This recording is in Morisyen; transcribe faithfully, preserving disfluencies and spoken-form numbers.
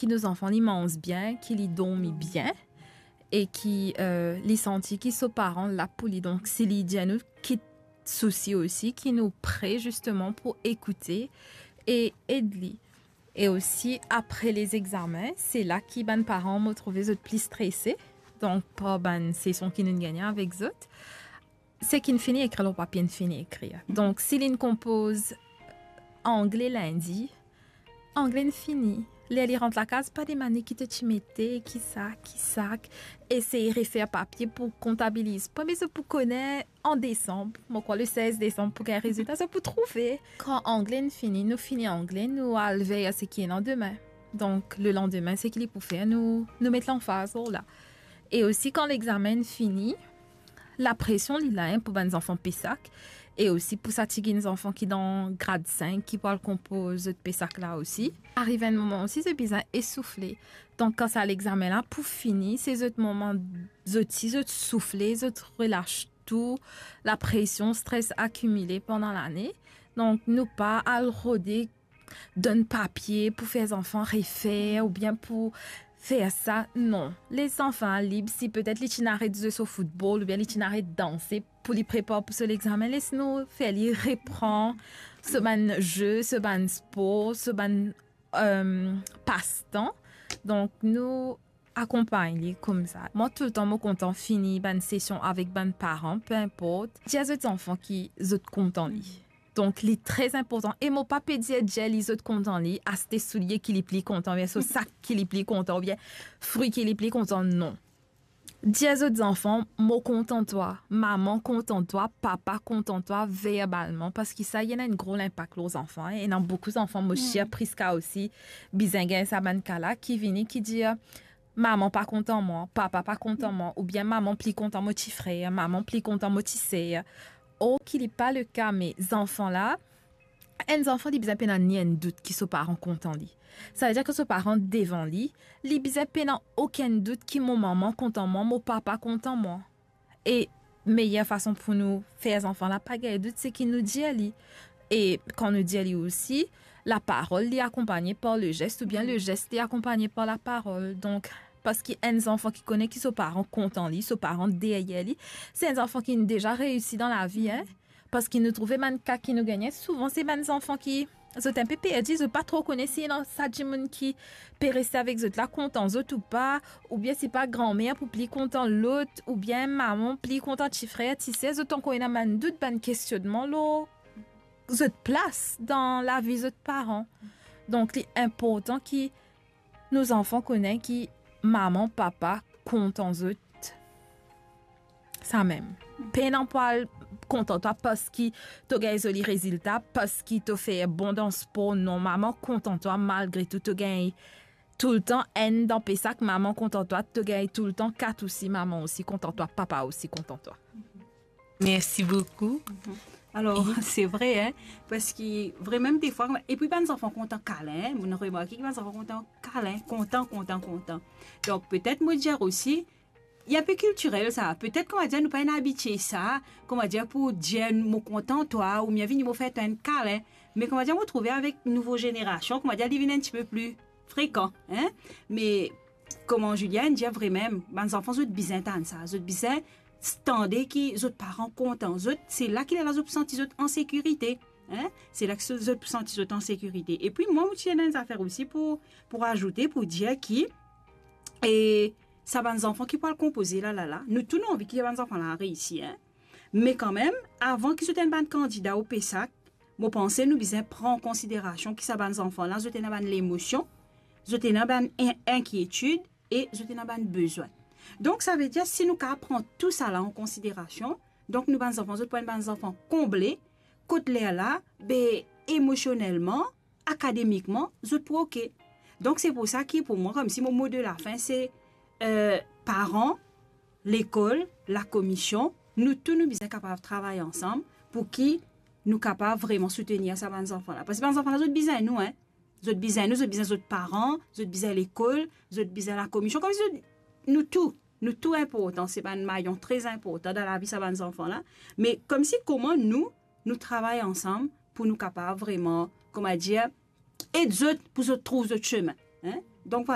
ki nou zanfan li manz bien, ki li dormi bien, e ki, euh, li santi ki so paran la pou li. Donk, si li dir nou kit sousi osi, ki nou pre zisteman pou ekoute e ed li. E osi, apre lezegzamin, se la ki bann paran, mo trouve zot pli strese, donk, par bann sesion ki nou'nn gagne avek zot. Seki inn fini ekrir lor papie, inn fini ekrir. Donk, si li'nn konpoz angle lindi, angle inn fini. Ler li rant lakaz, pa demann li ki to ti mete, ki sa, ki sa, esey refer papie pou kontabiliz. Premie zot pou kone an desanm, mo krwar le sez desanm pou gagn rezilta, zot pou trouve. Kan angle inn fini, nou fini angle, nou al ver seki ena demin. Donk, le landime, seki li pou fer, nou, nou met lanfaz lor la. E osi, kan lexamen fini, lapresion li la, hein, pou bann zanfan PESAC, e osi pou sa tigit zanfan ki dan grad sink, ki pou al konpoz zot PESAC la osi. Ariv enn moman osi, zot bizin esoufle. Donk, kan sa lexamen la pou fini, se zot moman, zot si, zot soufle, zot relas tou, lapresion, stres akimile pandan lane. Donk, nou pa al rode donn papie pou fer zanfan refer oubien pou fer sa. Non. Les zanfan lib, si petet li ti ena aret zwe so foutbol oubien li ti ena aret danse pou li prepar pou so lexamen, les nou fer li repran so bann ze, so bann spor, so bann, euh, pastan. Donk, nou akonpagn li koumsa. Mwa, toultan, mo kontan fini bann sesion avek bann paran, pe inport. Dir zot zanfan ki zot kontan li. Donk, li tre inportan. E mo pa pe dir, dir li zot kontan li, aste soulie ki li pli kontan, oubien so sak ki li pli kontan, oubien fri ki li pli kontan, non. Dir zot zanfan, mo kontan twa, mama kontan twa, papa kontan twa, verbalman, parski sa, li ena enn gro linpak lor zanfan, hein. Ena boukou zanfan, mo sir Prisca osi, bizin gagn sa bann ka la, ki vini, ki dir, mama pa kontan mwa, papa pa kontan mwa, oubien mama pli kontan mo ti frer, mama pli kontan mo ti ser. Or ki li pa le ka, me zanfan la, enn zanfan, li bizin pena ni enn dout ki so paran kontan li. Savedir ki so paran devan li, li bizin pena okenn dout ki mo mama kontan mwa, mo papa kontan mwa. E meyer fason pou nou fer zanfan la pa gagn dout, se ki nou dir li. E kan nou dir li osi, laparol li akonpagne par lezes, oubien lezes li akonpagne par laparol. Donk, parski enn zanfan ki kone ki so paran kontan li, so paran deryer li, se enn zanfan ki deza reisi dan lavi, hein. Parski nou trouve bann ka ki nou gagne, souvan se bann zanfan ki zot inpe perdi, zot pa tro kone si ena sa dimoun ki pe reste avek zot la kontan zot ou pa, oubien si pa granmer pou pli kontan lot, oubien mama pli kontan ti frer, ti ser, zot ankor ena bann dout, bann kestionnman lor zot plas dan lavi zot paran. Donk, li inportan ki nou zanfan kone ki mama, papa kontan zot. Samem. Pena pou al kontan twa parski to gagn zoli rezilta, parski to fer bon dan spor, non, mama kontan twa malgre tou, to gagn toultan enn dan PESAC, mama kontan twa, to gagn toultan kat osi, mama osi kontan twa, papa osi kontan twa. Merci beaucoup. Mhm. Alors, c'est vrai, hein, parski vremem defwa, epi bann zanfan kontan kalin, hein, mo'nn remarke ki bann zanfan kontan kalin, kontan, kontan, kontan. Donk, petet mo dir osi, li inpe kiltirel sa, petet, kouma dir, nou pa ena abitie sa, kouma dir, pou dir mo kontan twa, oubien vini mo fer twa enn kalin. Me, kouma dir, mo trouve avek nouvo zenerasion, kouma dir, li vinn enn tipe pli frekan, hein. Me, kouma Julia inn dir vremem, bann zanfan, zot bizin tann sa, zot bizin tande ki zot paran kontan zot, se la ki lerla zot pou santi zot an sekirite, hein? Se la ki zot pou santi zot an sekirite. Epi mwa, mo ti ena enn zafer osi pou, pou razoute, pou dir ki, e, sa bann zanfan ki pou al konpoze la, la, la, nou tou nou anvi ki bann zanfan la reisi, hein? Me kanmem, avan ki zot enn bann kandida o PESAC, mo panse nou bizin pran an konsiderasion ki sa bann zanfan la, zot ena bann lemosion, zot ena bann in-, inkietid e zot ena bann bezwin. Donk, savedir, si nou kapav pran tou sala an konsiderasion, donk nou bann zanfan, zot pou enn bann zanfan konble, kot lerla, be, emosionelman, akademikman, zot pou oke. Donk, se pou sa ki, pou mwa, koumsi mo mo de lafin, se, euh, paran, lekol, lakomision, nou tou nou bizin kapav travay ansam pou ki nou kapav vreman soutenir sa bann zanfan la. Parski bann zanfan la, zot bizin nou, hein. Zot bizin nou, zot bizin zot paran, zot bizin lekol, zot bizin lakomision. Koumsi zot, nou tou, nou tou inportan, se bann mayon tre inportan dan lavi sa bann zanfan la. Me koumsi kouma nou, nou travay ansam pou nou kapav vreman, kouma dir, ed zot pou zot trouv zot semin, hein? Donk,